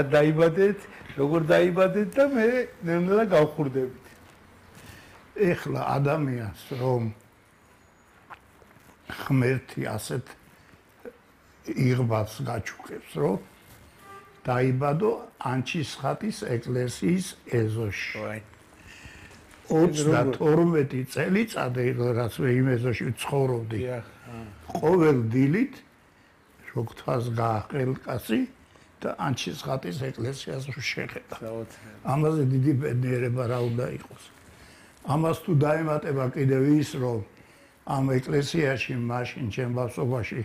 დაიბადეთ, როგორ დაიბადეთ და მე ნელა გავხურდებით. ეხლა ადამიანს რომ ღმერთი ასეთ იღბალს გაჩუქებს, რომ დაიბადო ანჩისხატის ეკლესიის ეზოში. 32 წელიწადი, რაც მე იმ ეზოში ცხოვრობდი. ყოველ დილით შოქთას გააყელკაცი და ანჩისხატის ეკლესიას შეხედა. ამაზე დიდი ბედნიერება რა უნდა იყოს. ამას თუ დაემატება კიდევ ის, რომ ამ ეკლესიაში მაშინ ჩემ ბავშვობაში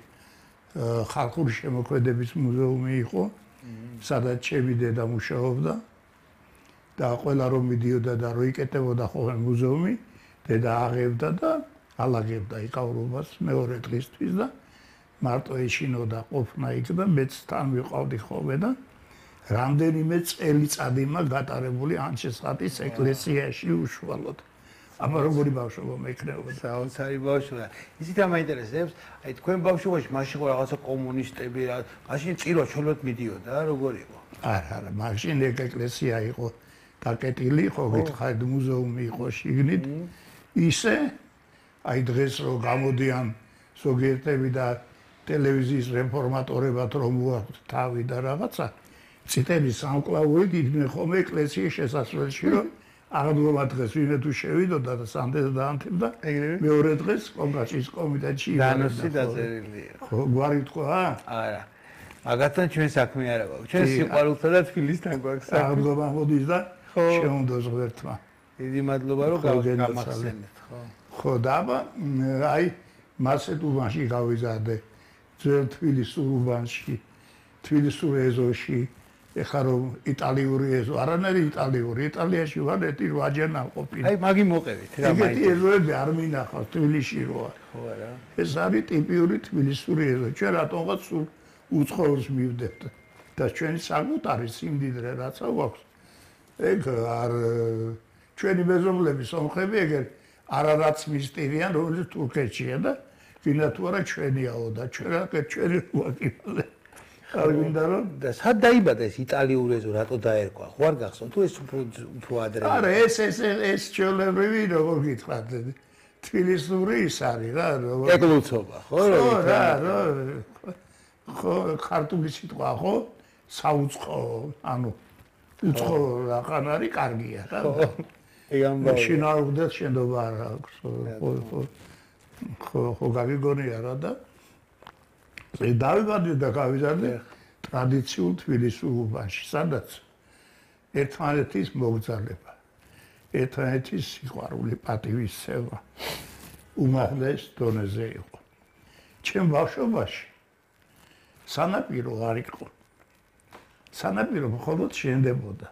ხალხური შემოქმედების მუზეუმი იყო, სადაც ჩემი დედა მუშაობდა და ყველა რომ მიდიოდა და რო იკეტებოდა ხოლმე მუზეუმი, დედა აღებდა და ალაგებდა იკავრობას მეორე დღისთვის და მარტო ეშინოდა ყოფნა იქ და მეც თან ვიყავდი ხოლმე და რამდენიმე წელიწადი გატარებული ანჩისხატის ეკლესიაში უშუალოდ. აბა როგორი ბავშვობა მექნებოდა? საოცარი ბავშვობა. ისიც ამაინტერესებს, აი თქვენ ბავშვობაში მაშინ ხო რაღაცა კომუნისტები რა, მაშინ წირვა ჩოლოდ მიდიოდა, როგორი იყო? არა, მაშინ ეკლესია იყო დაკეტილი, ხო გითხარით მუზეუმი იყო შიგნით. ისე აი დღეს რო გამოდიან ზოგიერთები და ტელევიზიის რეფორმატორებად რომ მოაქვთ თავი და რაღაცა, წითელი სამკლაური იდგნენ ხოლმე ეკლესიის შესასვლელში, რომ აღდგომა დღეს ვინმე თუ შევიდოდა და სამდენს დაანთებდა, მეორე დღეს კონგრესის კომიტეტში განოსი დაწერილია. ხო, გვარი თქვა? არა. მაგათთან ჩვენ საქმე არა გვაქვს. ჩვენ სიყვარულთან და თბილისთან გვაქვს საქმე. აღდგომა მოდის და შეუნდოს ღმერთმა. დიდი მადლობა რომ გამახსენეთ, ხო? ხო, და აი მასეთ უბანში გავიზარდე. ძველ თბილისურ უბანში, თბილისურ ეზოში, ეხლა რომ იტალიური ეზო, არანაირი იტალიური, იტალიაში ვარ 8-8 ნაყოფილი. აი მაგი მოყევით რა მაინც. ეგეთი ეზოები არ მინახავს თბილისში როა. ხო არა. ეს არის ტიპიური თბილისური ეზო. ჩვენ რატომღაც სულ უცხოურს მივდებთ და ჩვენი საკუთარი სიმდიდრე რაცა გვაქვს. ეგ არ ჩვენი მეზობლები სომხები ეგერ არარაც მისტირიან, რომელიც თურქეთშია და ვინა თუ არა ჩვენიაო და ჩვენი ვაკიფაზე. არ გინდა რომ და სად დაიბადა ეს იტალიური ეზო, რატო დაერქვა? ხო არ გახსოვთ თუ ეს უფრო ადრე? არა, ეს ჩვეულებრივი როგორ გითხრათ, თბილისური ის არის რა, როგორ ეკლუცობა, ხო რა, ხო, ქართული სიტყვა ხო? საუცხო, ანუ უცხო რაყან არის, კარგია რა. ეგ ამბავი. შინაურდეთ შენდობა არ აქვს, ხო, გაგიგონია რა და დავიბადე და გავიზარდე ტრადიციულ თბილისურ უბანში, სადაც ერთმანეთის მოგზაურობა, ერთმანეთის სიყვარული, პატივისცემა უმაღლეს დონეზე იყო. ჩემ ბავშვობაში სანაპირო არ იყო. სანაპირო მხოლოდ შენდებოდა.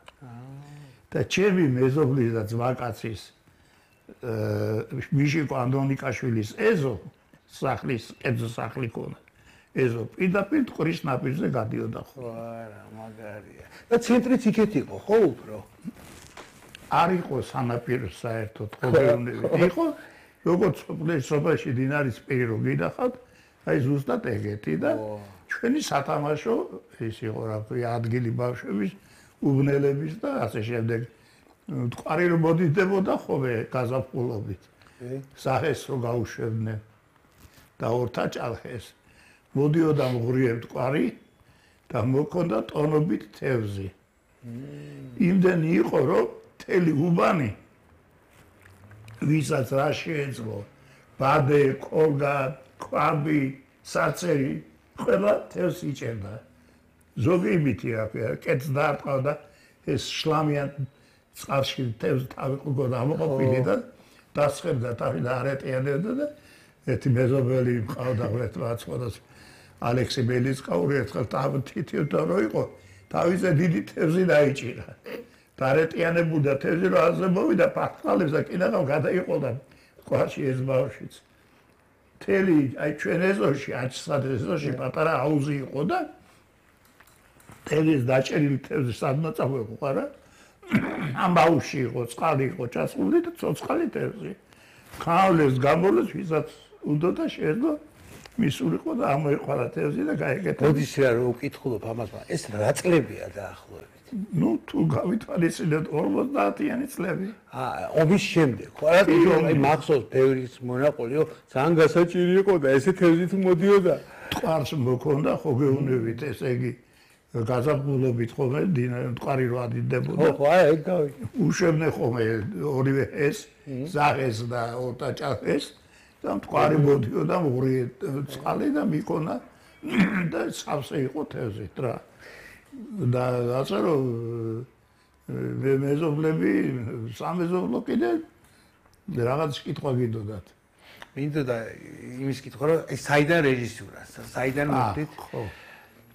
და ჩემი მეზობლის და ძმაკაცის მიშიკო ანდრონიკაშვილის ეზო სახლის, ეზო სახლი ქონა. ეზო პირდაპირ ტყრის ნაპირზე გადიოდა ხო. არა, მაგარია. და ცენტრიც იქეთ იყო, ხო უფრო? არ იყო სანაპირო საერთოდ ხოლმე იყო, როგორც სოფელში დინარის პირი რო გინახავთ, აი ზუსტად ეგეთი და ჩვენი სათამაშო ის იყო რა ქვია ადგილი ბავშვების, უბნელების და ასე შემდეგ. ტყარი რო მოდიდებოდა ხოლმე გაზაფხულობით. სახეს რო გაუშვებდნენ და ორთა ჭალხეს. მოდიოდა მღრიებ ტყარი და მოქონდა ტონობით თევზი. იმდენი იყო, რომ მთელი უბანი ვისაც რა შეეძლო, ბადე, კოლგა, ქვაბი, საწერი, ყველა თევზს იჭერდა. ზოგი იმითი რა ქვია, კეთს დაარტყავდა ეს შლამიან წყალში თევზი თავი ყურგოდა ამოყოფილი და დასხებდა თავი და არეტიანებდა და ერთი მეზობელი მყავდა ღმერთმა აწყოდოს ალექსი ბელისკაური ერთხელ თითივდა რო იყო თავზე დიდი თევზი დაიჭირა და არეტიანებდა თევზი რო აზე მოვიდა პარტყალებს და კიდევ გადაიყოლდა ყვაში ეს ბავშვიც მთელი აი ჩვენ ეზოში ანჩისხატის ეზოში პატარა აუზი იყო და თევზის დაჭერილი თევზი სადმა წავეყო რა ამ ბავშვი იყო წყალი იყო ჩასული და ცოცხალი თევზი ხავლეს გამოლეს ვისაც უნდა და შეეძლო მისულიყო და ამოეყარა თევზი და გაეკეთა. მოდის რა რომ უკითხულობ ამას, მაგრამ ეს რა წლებია დაახლოებით? ნუ თუ გავითვალისწინოთ 50-იანი წლები. ომის შემდეგ. ხო რა თქმა მახსოვს ბევრის მონაყოლიო, ძალიან გასაჭირი იყო და ესე თევზი თუ მოდიოდა. ტყარს მოქონდა ხო გეუნებით, ესე იგი გაზაფხულობით ხოლმე ტყარი რო ადიდებოდა. ხო, ეგ გავიგე. უშვებდნენ ხოლმე ორივე ეს, ზაღეს და ორტაჭახეს და ტყარი მოდიოდა ორი წყალი და მიკონა და სავსე იყო თევზით რა. და ასე რომ მეზობლები სამეზობლო კიდე რაღაც კითხვა გინდოდათ. მინდოდა იმის კითხვა რომ ეს საიდან რეჟისურა, საიდან მოხდით? ხო.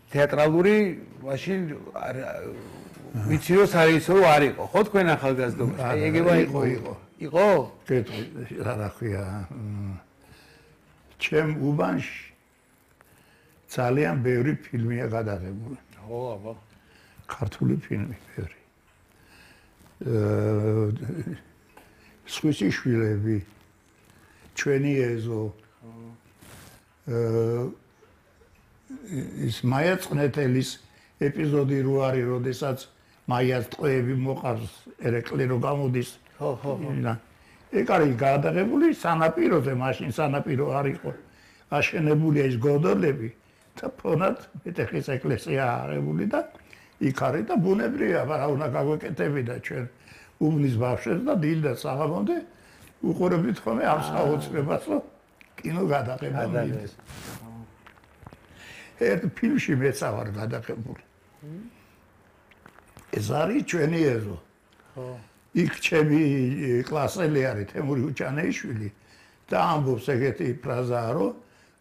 თეატრალური მაშინ ვიცი რომ სარეჟისორო არ იყო, ხო თქვენ ახალგაზრდობაში? აი ეგევა იყო. იყო? კეთილი რა ქვია. ჩემ უბანში ძალიან ბევრი ფილმია გადაღებული. ხო, აბა. ქართული ფილმი ბევრი. სხვისი შვილები, ჩვენი ეზო. ის მაია წნეთელის ეპიზოდი რო არის, როდესაც მაიას ტყვეები მოყავს ერეკლი რო გამოდის. ხო. ეგ არის გადაღებული სანაპიროზე, მაშინ სანაპირო არ იყო. აშენებულია ის გოდოლები და ფონად მეტეხის ეკლესია აღებული და იქ არის და ბუნებრივია, მაგრამ უნდა გაგვეკეთები და ჩვენ უბნის ბავშვებს და დილდა საღამომდე უყურებდით ხოლმე ამ საოცრებას, რომ კინო გადაღება მიდის. ერთ ფილმში მეც ვარ გადაღებული. ეს არის ჩვენი ეზო. ხო. იქ ჩემი კლასელი არის თემური უჭანეიშვილი და ამბობს ეგეთი ფრაზაა, რომ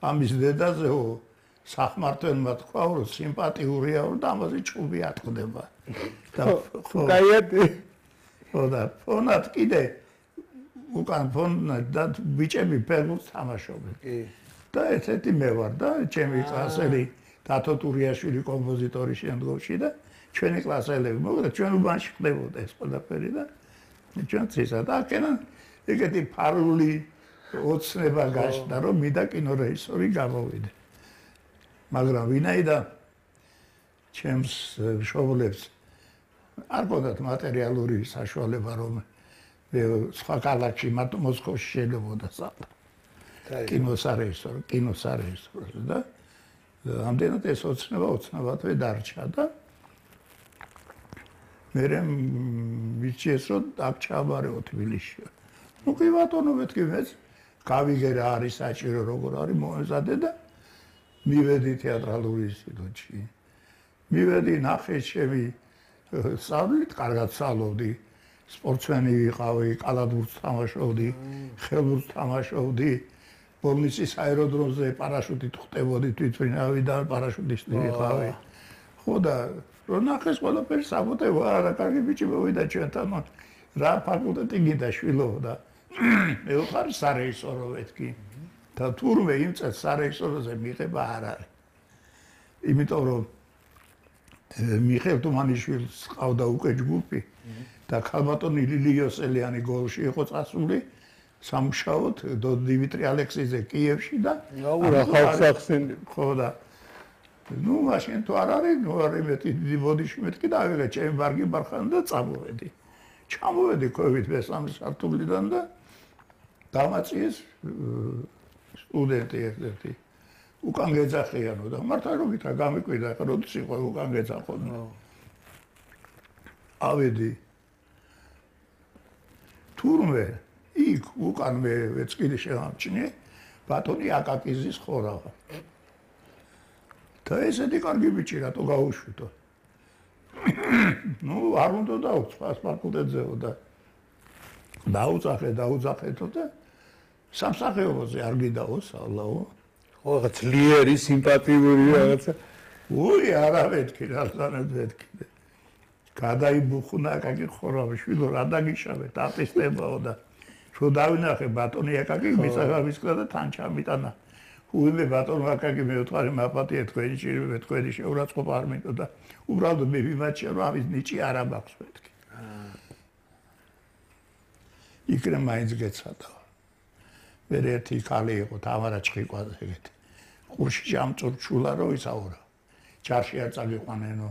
ამის დედაზეო სახმართველმა თქვა, რომ სიმპათიურია და ამაზე ჭუბი ატყდება. და ხო, კაიათი. ხო და ფონად კიდე უკან ფონად და ბიჭები ფეხბურთს თამაშობენ. კი. და ესეთი მე ვარ და ჩემი კლასელი დათო ტურიაშვილი კომპოზიტორი შემდგომში და ჩვენი კლასელები, მოკლედ ჩვენ უბანში ხდებოდა ეს ყველაფერი და ჩვენ ცისა და აქედან ეგეთი ფარული ოცნება გაჩნდა, რომ მინდა კინორეჟისორი გამოვიდე. მაგრამ ვინაიდან ჩემს მშობლებს არ გქონდათ მატერიალური საშუალება, რომ სხვა ქალაქში, მოსკოვში შეიძლებოდა საყდა. კინოსარეჟისორი და ამდენად ეს ოცნებათვე დარჩა და მე ვიციეს რომ აქ ჩავაბარეო თბილისში. ნუ კი ბატონო მეთქი მეც გავიგე რა არის საჭირო როგორ არის მოეზადე და მივედი თეატრალური ინსტიტუტში. მივედი ნახე ჩემი სწავლით, კარგად სწავლობდი. სპორტსმენი ვიყავი, კალათბურთს თამაშობდი, ხელბურთს თამაშობდი. ბოლნისის აეროდრომზე პარაშუტით ხტებოდი თვითმფრინავი და პარაშუტისტი ვიყავი. ხო და რო ნახეს ყველაფერი საბუთებო, არა კარგი ბიჭი მოვიდა ჩვენთან, რა ფაკულტეტი გინდა შვილო და მე ვხარ სარეჟისორო მეთქი. და თურმე იმ წელს სარეჟისოროზე მიღება არ არის. იმიტომ რომ მიხეილ თუმანიშვილს ყავდა უკვე ჯგუფი და ქალბატონი ლილიოსელიანი გოლში იყო წასული სამუშაოდ დიმიტრი ალექსიძე კიევში და აურა ხალხს ახსენე. ხო და ნუ მაშინ თუ არ არის, ნუ არის მეტი დიდი ბოდიში მეთქი და ავიღე ჩემი ბარგი ბარხანი და წამოვედი. ჩამოვედი COVID მესამე სართულიდან და დამაწიეს სტუდენტი ერთ-ერთი. უკან გეძახიანო და მართლა რომ გითხრა გამიკვირდა, ხა როდის იყო უკან გეძახონო. ავედი თურმე იქ უკან მე ეცკილი შემამჩნიე ბატონი აკაკიზის ხორავა. და ესეთი კარგი ბიჭი რატო გაუშვიდო? ნუ არ უნდა დაუწყო ფაკულტეტზეო და დაუძახეთო და სამსახიობოზე არ გიდაო სალაო. ხო, რაღაც ძლიერი, სიმპათიური რაღაცა. უი, არა მეთქი, რა მეთქი. გადაიბუხნა აკაკი ხორავაშვილო, რა დაგიშავე, დაპისტებაო და რო დავინახე ბატონი აკაკი მისაღებისკდა და თან ჩამიტანა. უიმე ბატონო აკაკი მე ვთქვარი მაპატია თქვენი ჭირვება თქვენი შეურაცხყოფა არ მინდო და უბრალოდ მე ვიმაჩია რომ ამის ნიჭი არ ამაქვს მეთქი. იქნებ მაინც გეცადა. მე ერთი ქალი იყო თამარა ჩხიკვაძე ეგეთი. ყურში ჯამწურჩულა რო ისაურა. ჯარში არ წაგიყვანენო.